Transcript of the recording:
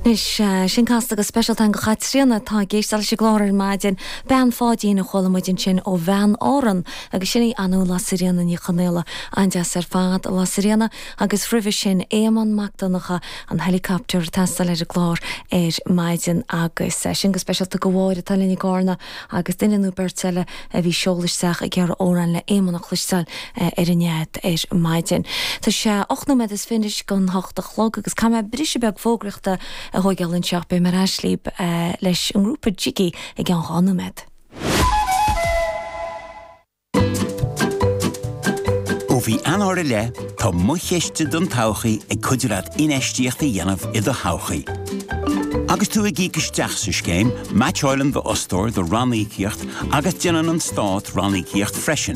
Anois, sin casta go speisialta againn do Chaitríona atá ag éisteacht leis an gclár ar maidin. Bean Pháidín a chuala muid ansin ó Bhean Árann agus sin í Anú Lasairfhíona Ní Chonaola. An-deas ar fad, a Lasairfhíona. Agus roimhe sin, Éamonn Mac Donncha, an helicopter ag teastáil ar an gclár ar maidin agus sin go speisialta do Mháire atá linn i gCarna agus duine nó beirt eile a bhí ag seoladh isteach ag iarraidh amhrán le Éamonn a chloisteáil ar an nead ar maidin. Tá sé 8 nóiméad is fiche don hocht a chlog agus caithfidh mé briseadh beag fógraíochta a thóigeáil anseo. Beidh mé ar ais libh leis an ngrúpa Jiggy i gceann 2 nóiméad. Ó mhí Eanáir i leith, tá Mo Chiste don Todhchaí ag cuidiú leat infheistíocht a dhéanamh i do thodhchaí. Agus tú ag íoc isteach sa scéim, meaitseáileann d'fhostóir do ranníocaíocht agus déanann an Stát ranníocaíocht freisin.